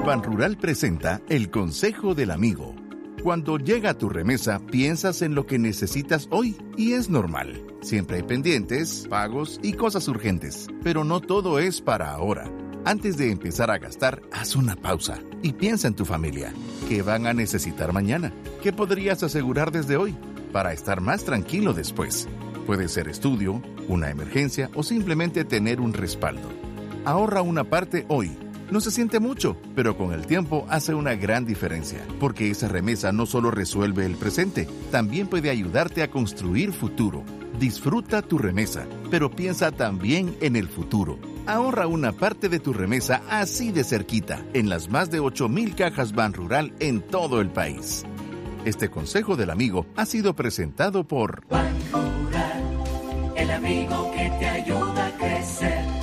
Banrural presenta el Consejo del Amigo. Cuando llega tu remesa, piensas en lo que necesitas hoy y es normal. Siempre hay pendientes, pagos y cosas urgentes, pero no todo es para ahora. Antes de empezar a gastar, haz una pausa y piensa en tu familia. ¿Qué van a necesitar mañana? ¿Qué podrías asegurar desde hoy para estar más tranquilo después? Puede ser estudio, una emergencia o simplemente tener un respaldo. Ahorra una parte hoy. No se siente mucho, pero con el tiempo hace una gran diferencia, porque esa remesa no solo resuelve el presente, también puede ayudarte a construir futuro. Disfruta tu remesa, pero piensa también en el futuro. Ahorra una parte de tu remesa así de cerquita, en las más de 8.000 cajas Banrural en todo el país. Este consejo del amigo ha sido presentado por Banrural, el amigo que te ayuda a crecer.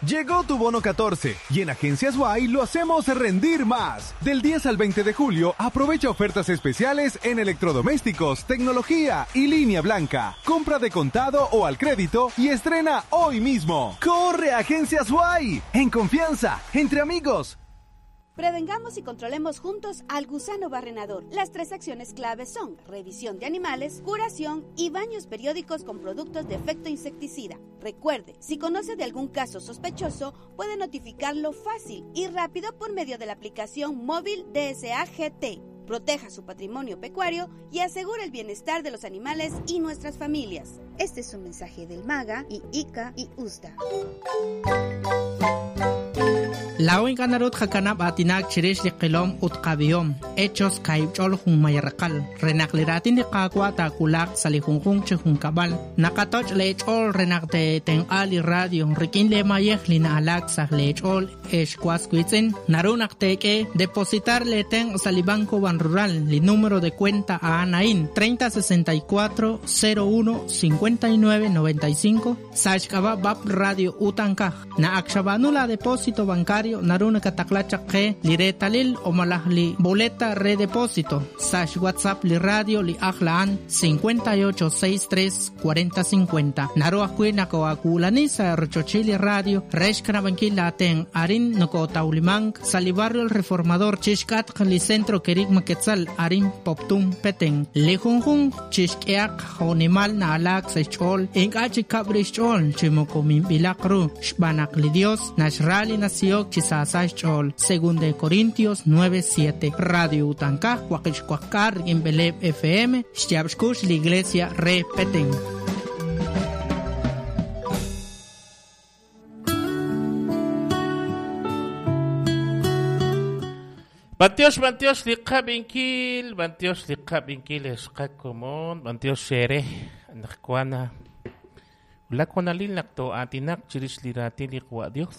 Llegó tu bono 14 y en Agencias Y lo hacemos rendir más. Del 10 al 20 de julio, aprovecha ofertas especiales en electrodomésticos, tecnología y línea blanca. Compra de contado o al crédito y estrena hoy mismo. ¡Corre a Agencias Y! En confianza, entre amigos. Prevengamos y controlemos juntos al gusano barrenador. Las tres acciones claves son revisión de animales, curación y baños periódicos con productos de efecto insecticida. Recuerde, si conoce de algún caso sospechoso, puede notificarlo fácil y rápido por medio de la aplicación móvil DSAGT. Proteja su patrimonio pecuario y asegure el bienestar de los animales y nuestras familias. Este es un mensaje del MAGA y ICA y USDA. Laa'o ink'a' naru tqakanab' aatinak chirix li qilom ut qab'ihom, Hechos kaahib' ch'ol junmay raqal, re naq li raatin li Qaawa' taawulaq sa' li junjunq chi junkab'al. Naqatoch' lee ch'ool re naq teetenq'a li radio rik'in lee mayej li na'alaak sa' lee ch'ool, ex was wiitz'in. Naru naq teek'e depositar lee tenq' sa' li Banco Banrural, li número de cuenta a'an a'in, 30 64 01 59 95, sa' xk'ab'a' BAP Radio Utankaj. Naq ak xab'aanu laa depósito bancario, naru nakataqla chaq qe li reetalil o malaj li boleta re depósito sa' xWhatsApp li radio li ajl a'an 58 63 40 50. Naru ajwi' nakoo'aawulani sa' rochochil li radio re xkanab'ankil laatenq'. Arin nokootawlimank sa' li barrio El Reformador chixk'atq li Centro Kerigma Quetzal arin Poptún, Petén. Li junjunq chixk'ehaq jo'nimal na'alaak sa' xch'ool, ink'a' chi kab' rix xch'ool chi moko minb'ilaq ru, xb'aan naq li Dios naxra li nasihok chi saasa xch'ool. Según de Corintios 9:7. Radio Utankaj, waqib' xwaqk'aal rik'in b'eleeb' FM, xyaab' xkux li Iglesia re Petén. B'antiox, b'antiox li qab'inkil, b'antiox li qab'inkil ex qakomon, b'antiox eere anaqwan wulak hoonalil naq too'aatinaq chirix li raatin li Qawa' Dios.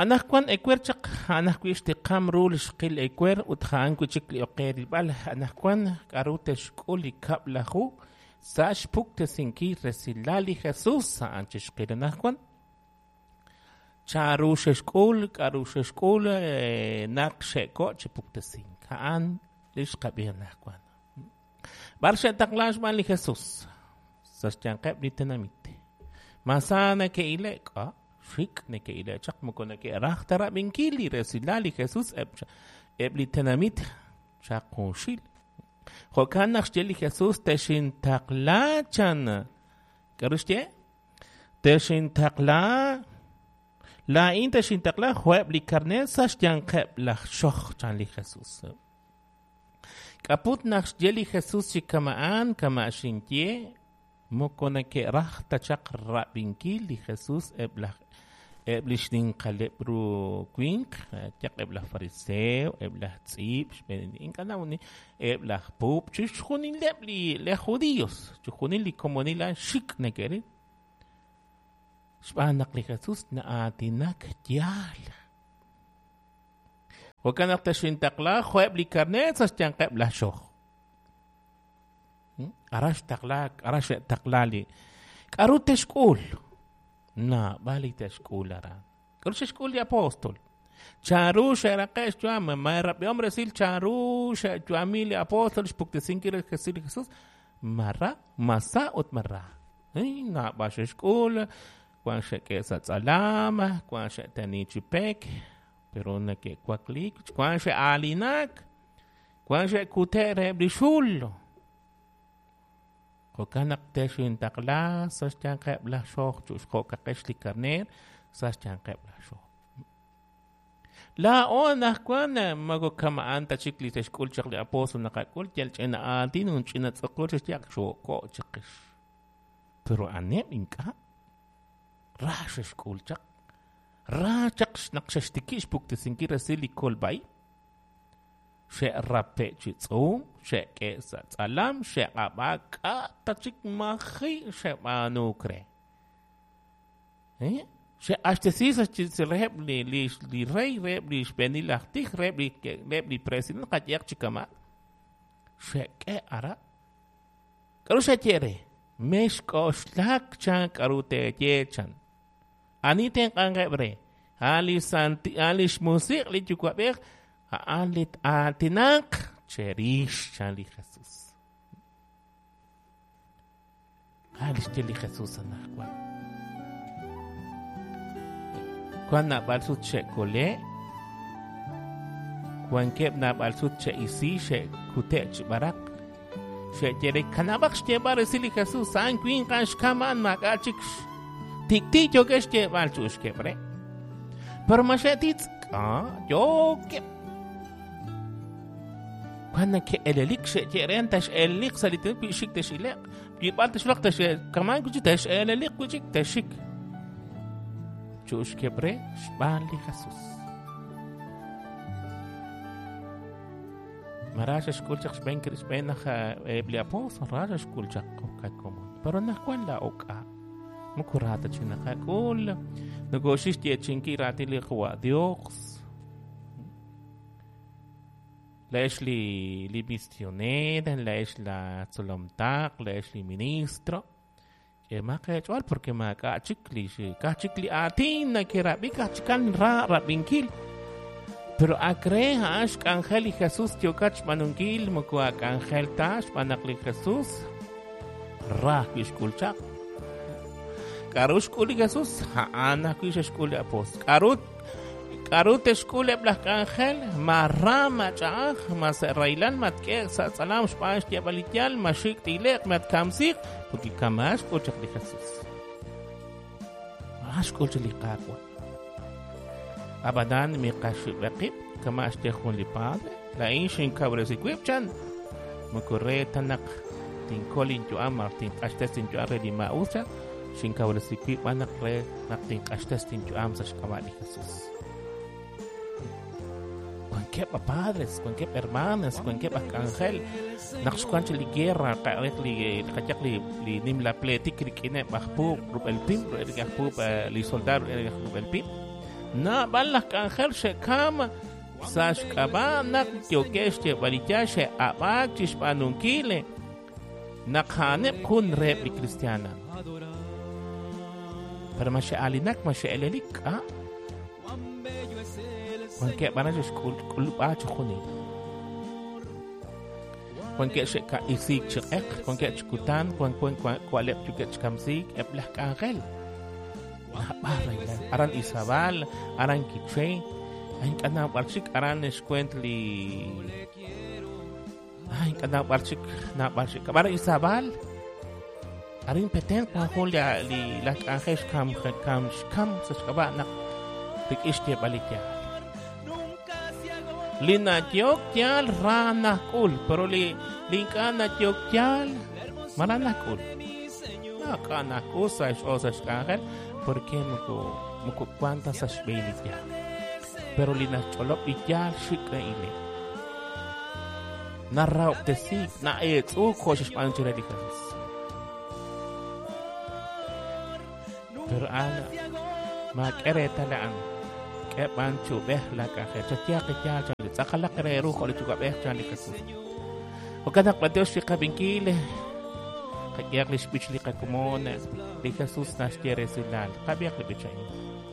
Anaqwan ewer chaq a'an ajwi' xtiqam ru li xqil ewer ut a'an wi' chik li ok qe rilb'al anaqwan k'aru te'xk'ul li kab'laju sa' xpuktesinkil resilal li Jesus a'an chixqil anaqwan. Chanru xe'xk'ul, k'aru xe'xk'ul naq xe'ko' chi puktesink. A'an li xqab'i anaqwan. B'ar xe'taqlaak xb'aan li Jesus? Sa' xyanqeb' li tenamit. Ma sa neke'ile'k? Ah, xik' neke'ile'k chaq, moko neke'raj ta rab'inkil li resilal li Jesus eb' li tenamit chaq junxil. Jo'kan naq xye li Jesus, Texintaqla chan. K'aru xye? Texintaqla, laa'in texintaqla jo'eb' li karneer sa' xyanqeb' laj xoj, chan li Jesus. K'aput naq xye li Jesus chi kama'an, kama' xinye, moko neke'raj ta chaq rab'inkil li Jesus eb' laj eb' li xninqaleb' ru winq, yaq eb' laj fariseo, eb' laj tz'iib', xb'een ink'a' nawni, eb' laj puub', chixjunileb' li laj judíos, chixjunil li komonil a'an xik' neke'ril. Xb'aan naq li Jesus na'aatinak yaal. Jo'kan naq texintaqla jo'eb' li karneer sa' xyanqeb' laj xoj. Aran xtaqlaak, aran xe'taqla li. K'aru te'xk'ul? Naab'al li te'xk'ul aran. K'aru xe'xk'ul li apóstol? Chanru xe'raqe' xyu'am? Ma rab'ihom resil chanru xe'yu'ami li apóstol xpuktesinkil resil li Jesús? Mara, masa ut mara. Naab'al xe'xk'ul. Wan xe'k'e sa' tz'alam, wan xe'teni chi pek, pero neke'wakliik, wan xe'aalinak, wan xe'kute' reheb' li xul. Jo'kan naq texintaqla sa' xyanqeb' laj xoj chu'xjo'kaqex li karneer sa' xyanqeb' laj xoj. Laa'o anaqwan moko kama'an ta chik li xe'xk'ul chaq li apóstol naqak'ul yal ch'ina aatin ut ch'ina tz'uqul xe'xye xo'ko' chiqix. Pero aneb' ink'a' ra xe'xk'ul chaq. Ra chaq naq xe'xtikib' xpuktesinkil resil li kolb'a-ib'. Xe'rape' chi tz'uum, xe'k'e' sa' tz'alam, xe'q'ab'aak k'a' ta chik maji' xe'b'aanuuk re. Xe'q'axtesi sa' reheb' li rey, reheb' li xb'eenil aj tij, reheb' li president qayehaq chi kama'. Xe'k'e ara. K'aru xaye re? Mexk'oxlak chan k'aru teeye chan. Ani tenq'anqeb' re? A'an li santi, a'an li xmusiq' li Yuwa'b'ej, a'an li aatinaq cherix chan li Jesús. A'an li xye li Jesús anaqwan. Wan naab'al sut xe'kole', wankeb' naab'al sut xe'isi, xe'kute' chi b'araq. Xe'ye re kanab'aq xyeeb'al resil li Jesús, a'an winq a'an xkam a'an maak'a' chik tik'ti' yookeb' xyeeb'al chu'uxkeb' re. Pero ma xe'titz' k'a yookeb'. Wan neke'elelik xe'ye re tex'eleliq sa' li tenamit wi xik tex'ile'q, wi b'ar texwulaq tex'kaman wi' chik tex'eleliq wi' chik texxik. Chu'uxkeb' re xb'aan li Jesús. Mara xe'xk'ul chaq xb'een xb'een aj eb' li apóstol, ra xe'xk'ul chaq qakomon. Pero anaqwan laa'o k'a' moko ra ta chik naqak'ul. Nokooxik xyeechi'inkil raatin li Qawa' Dios. Laa'ex li misioneer, laa'ex la tzolom taq, laa'ex li ministro. K'eemaq eech'ool porque maak'a' chik li k'aj chik li aatin nakerab'i k'aj chikan ra rab'inkil. Pero ak re a'an xk'anjel li Jesús yookat xb'aanunkil moko ak'anjel ta xb'aan naq li Jesús ra ajwi' xk'ul chaq. K'aru xk'ul li Jesús? A'an ajwi' xe'xk'ul li apóstol. K'aru te'xk'ul eb' laj k'anjel? Ma ra, ma ch'a'aj, ma sa' rahilal, ma tk'e'q sa' tz'alam xb'aan xyeeb'al li yaal, ma xik' tile'q, ma tkamsiiq, porque kama xk'ul chaq li Jesús. Ma xk'ul chaq li Qaawa'. Ab'anan miqaxib'e qib', kama xye jun li padre, laa'in xinkawresi wib' chan. Moko re ta naq tinkol inyu'am malaj tinq'axtes inyu'am re li maa'us chan, xinkawresi wib' b'an naq re naq tinq'axtes inyu'am sa' xk'ab'a' li Jesús. Wankeb' padres, wankeb' hermanas, wankeb' aj k'anjel naq xwan chi li guerra qa'rek li qayaq li nimla pletik rik'ineb' aj puub' rub'el pim, rub'el aj puub' li soldado rub'el aj rub'el pim. Naab'al laj k'anjel xe'kam sa' xk'ab'a' naq yookeb' xyeeb'al li yaal xe'ab'aak chi xb'aanunkil naq a'aneb' jun reheb' li kristiaan. Pero ma xe'aalinak, ma xe'elelik, k'a'. Wankeb' aran xe'xk'ulub'a chi junil. Wankeb' xe'ka'isiik chi q'eq, wankeb' chi kutan, wa'leb' yookeb' chi kamsiik eb' laj k'anjel. Naab'al rahilal. Aran Izabal, aran Quiché, ink'a' naab'al chik, aran xkuent li ink'a' naab'al chik, naab'al chik. Aran Izabal, arin Petén wan jun li laj k'anjel xkam xkam sa' xk'ab'a' naq rik'in xyeeb'al li yaal. Li nayehok yaal ra najk'ul, pero li ink'a' nayehok yaal ma ra najk'ul. Maak'a' najk'ul sa' xch'ool sa' xk'anjel porque moko wan ta sa' xb'een li yaal. Pero li naxch'olob' li yaal xik' na'ile'. Narahob'tesiik, na'eetz'uuk jo' xe'xb'aanu chire li Jesús. Pero a'an maak'e reetal a'an. K'e b'an chi ub'ej la k'anjel. Chatyaq li yaal chan li tz'aqalaq re ru jo' li Yuwa'b'ej chan li Jesús. Jo'kan naq b'antiox li qab'inkil, qayehaq li xb'ich li qakomon, li Jesús naxye resilal. Qab'ihaq li b'ich a'in.